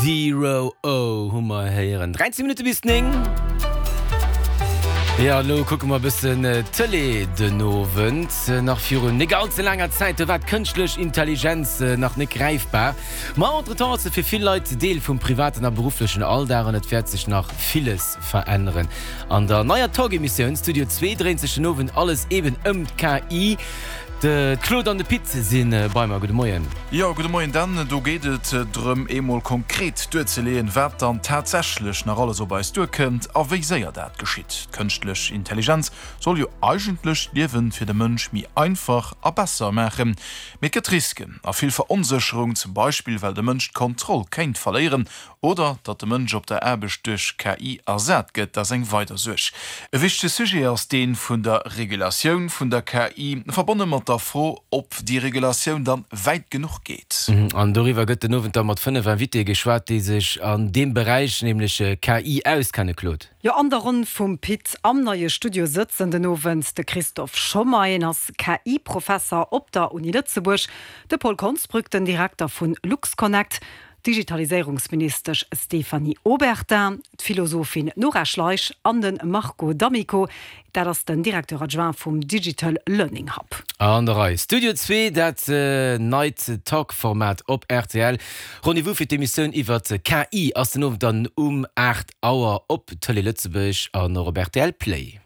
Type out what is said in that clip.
Zero O hu mer héieren. 13 Minutte bis 9. Jo, elo kucke mer e bëssen Tëlee den Owend. Nach virun net all ze laanger Zäit, do war d'kënschtlech Intelligenz nach net gräifbar. Ma entretemps ass se fir vill Leit Deel vum privaten a berufflechen Alldag an et wäert sech nach villes veränneren. An der neier Talk-Emissioun Studio Zwee dréint sech den Owend alles eben ëm d'KI. De Claude an de Pit si bei mer. Gudde Moien. Jo, gudde Moien Dan. Do geet et drëm, eemol konkret duerzeleeën, wat dann tatsächlech nach alles op eis duerkënnt a wéi séier dat geschitt. D'kënschtlech Intelligenz soll jo eigentlech d'Liewe fir de Mënsch méi einfach a besser maachen. Mee et gëtt Risken a vill Veronsécherung, zum Beispill well de Mënsch d'Kontroll kéint verléieren Oder datt de Mënsch op der Aarbecht duerch KI ersat gëtt, dat ass eng weider Suerg. E wichtege Sujet ass dee vun der Regulatioun vun der KI, verbonne mat der Fro, ob déi Regulatioun dann wäit genuch geet. An doriwwer gëtt den Owend da mat 5 Invitéë geschwat, déi sech an deem Beräich, nämlech KI, auskenne. Claude. Jo, an der Ronn vum Pit am neie Studio sëtzen den Owend de Christophe Schommer, hien ass KI-Professer op der Uni Lëtzebuerg, de Paul Konsbrück, den Direkter vu LuxConnect, d'Digitaliséierungsministesch Stéphanie Obertin, d'Philosophin Nora Schleich an de Marco D'Amico, dat ass den Directeur adjoint vum Digital Learning Hub. An der Rei. Studio Zwee, dat neit Talk-Format op rtl. Rendez-vous fir d'Emissioun iwwert KI ass den Owend dann um 8 Auer op Tëlee Lëtzebuerg an och op rtl Play.